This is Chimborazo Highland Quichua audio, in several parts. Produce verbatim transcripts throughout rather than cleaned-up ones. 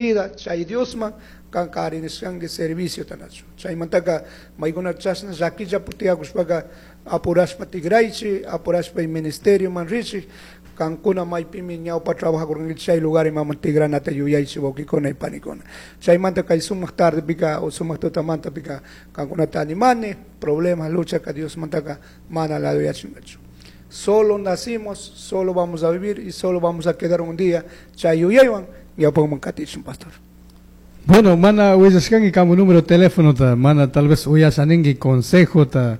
Vida chay Diosman kanka arinishkanki servicio tanachu chaymantaka maykuna chashna llakilla putiyakushpaka apurashpa tigraychi, apurashpa ministerio man richik, kankuna maypimi ñawpa trabajakurkankichik chay lugar imaman tigranata yuyaychik, wawkikuna y panikuna. Chaymanta kay sumaq tardepika o sumaq tutamantapika kankunata animani, problemas, luchaka Diosmantaka mana laduyachinkachu. Solo nacimos, solo vamos a vivir y solo vamos a quedar un día. Chay yuyaywan ñawpakman katishun, pastor. Bueno, mana willashkanki kamu número teléfono ta, mana tal vez uyashaninki consejo ta,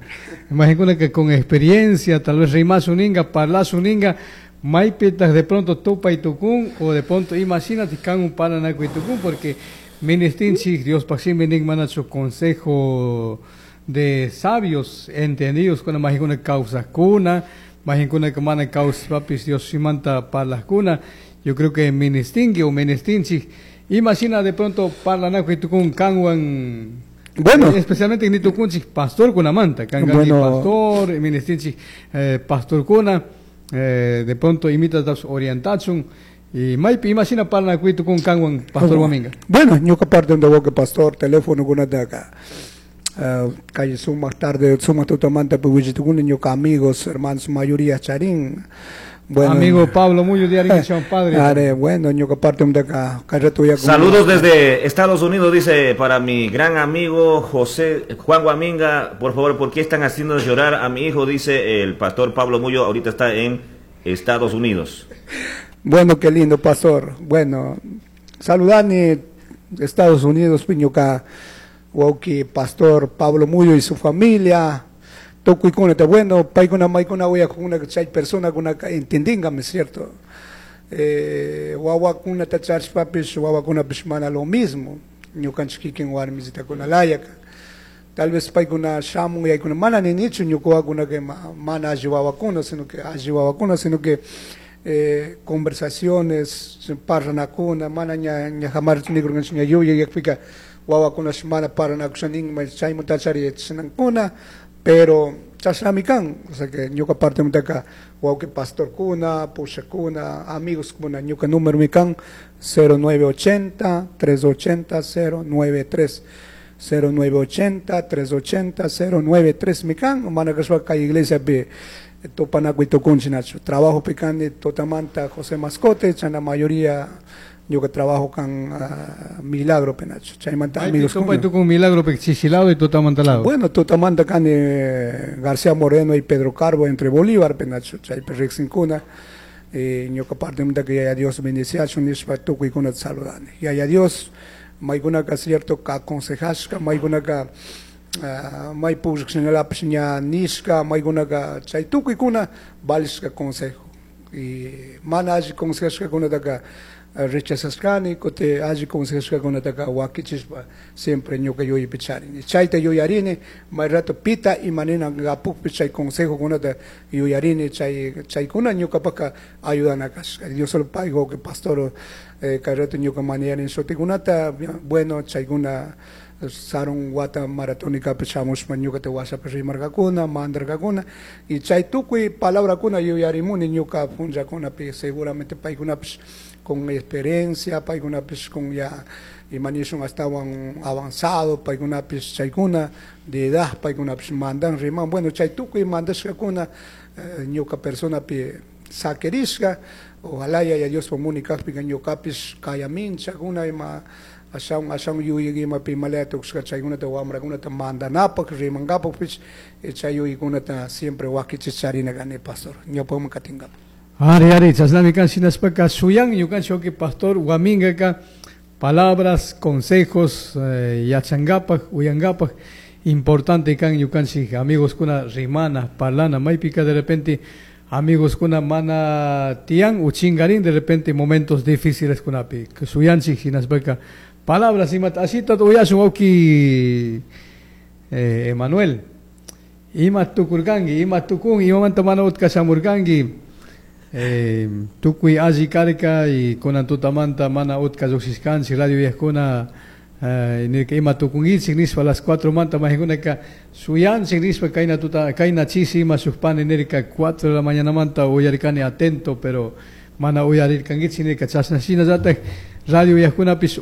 imagina que con experiencia, tal vez rimashuninga, parlashunninga, maypitaj de pronto tupa y tukun, o de pronto imagínate kan un paranaku y tukun, porque ministinchik Dios shimi nin manachu consejo de sabios entendidos con majikuna kawsajkuna, majikuna que mana kawsapis Dios shimanta parlajkuna. Yo creo que ministinki o ministinchik, imagina de pronto parlanaku y tukun kanwan. Bueno. Especialmente ni tukunchik pastor kunamanta, kan Bueno. pastor, ministinchik eh, pastor kuna, eh, de pronto imita orientachun y maypi imagina parlanaku y tukun kanwan pastor Guaminga. Bueno, ñuka parte donde que pastor, teléfono kunataka. Uh, calle sumaq tarde, sumaq tutamanta piwichitukuni ñuka amigos, hermanos, mayoría charín. Bueno, Amigo Pablo Muyo de Arica, padre. Are, bueno, ñuka parte donde acá, ya Saludos desde Estados Unidos, dice, para mi gran amigo José Juan Guaminga, por favor, ¿por qué están haciendo llorar a mi hijo? Dice el pastor Pablo Muyo, ahorita está en Estados Unidos. Bueno, qué lindo, pastor. Bueno, saludani Estados Unidos, ñuka wawki pastor Pablo Muyo y su familia. Tukuykuna, bueno, paykuna maykuna uyakuna chay persona kuna entendingame, ¿cierto? Eh, wawakunata charishpapish wawakunapish mana lo mismo, ñukanchik kikin warmisitakuna layaka. Tal vez paykuna shamun yaykuna mana ninichu ñuka wawakunaka mana alli wawakuna, sino que alli wawakuna, sino que eh, conversaciones, parlanakuna, mana ña ña jamar nikurkanchik ña yuyayakpika wawakuna mana paranakusha nin chaymantachari chashnankuna, pero chashnami kan, o sea que ñuka parte mantaka wawki pastorkuna, pushakuna, amigos kuna, ñuka número mi kan cero nueve ochenta trescientos ochenta cero noventa y tres, cero nueve ochenta trescientos ochenta cero noventa y tres mi kan, mana kashpa kay iglesia pi tupanakuy tukunchik nachu. Trabajo pikani tutamanta José Mascote, chana mayoría ñuka trabajo kan uh, Milagro penacho. Chaymanta amigos. Tupa con Milagro pe chichilado y tutamanta lado. Bueno, tutamanta kani García Moreno y Pedro Carbo entre Bolívar penacho, chaypi riqsinkuna. Eh, ñuka parte que Yaya Dios bendiciachun nishpa tukuykunata saludani. Yaya Dios maykunaka cierto ka aconsejashka, maykunaka uh, may pushkshinallapish ña nishka, maykunaka chay tukuykuna valishka consejo. Y mana alli consejashkakunataka rechazashkani, kuti alli consejashkakunataka wakichishpa siempre ñuka yuyaypi charini. Chayta yuyarini, may rato pita imanina apukpi chay consejokunata yuyarini, chay chaykuna ñukapaka ayudana kashka. Dios solo paygo que pastor eh, kay rato ñuka maniyarin shutikunata, bueno, chaykuna sarun wata maratónica shamushpa ñukata washapi rimarkakuna, mandarkakuna y chay tukuy palabrakuna yuyarimuni ñuka punllakunapi, seguramente paykunapish con experiencia, paykunapish con ya imanishun astawan avanzado, paykunapish chaykuna de edad, paykunapish mandan riman, bueno, chay tukuy mandashkakuna eh, ñuka personapi saquirishka. Ojalá Yaya Dios muni kakpika ñukapish kayaminchakuna ima ashawan ashawan yuyay imapi imalaya tukushka chaykunata wamrakunata mandanapak rimankapakpish chay yuyaykunata siempre wakichish charina kani, pastor, ñawpakman katinkapak. Ari, ari, chashnami kan shinashpaka shuyan ñukanchik pastor Guamingaka palabras, consejos eh, yachankapak, uyankapak importante kan ñukanchik amigos kuna rimana, parlana, maypika de repente amigos kuna mana tiyan uchingarin de repente momentos difíciles kunapi shuyanchik shinashpaka palabras imata ashita uyashun wawki eh, Emanuel, ima tukurkanki, ima tukun, imamanta mana utka shamurkanki, eh, tukuy alli karka y kunan tutamanta mana utka lluqshishkanchik radio uyajkuna eh, nirka ima tukunkichik nishpa las cuatro manta majikunaka shuyanchik nishpa kayna tuta kayna chishi ima shuk pani nirka cuatro de la mañana manta uyarikani atento, pero mana uyarirkankichik nirka chashna shinallatak Radio uyajkunapish.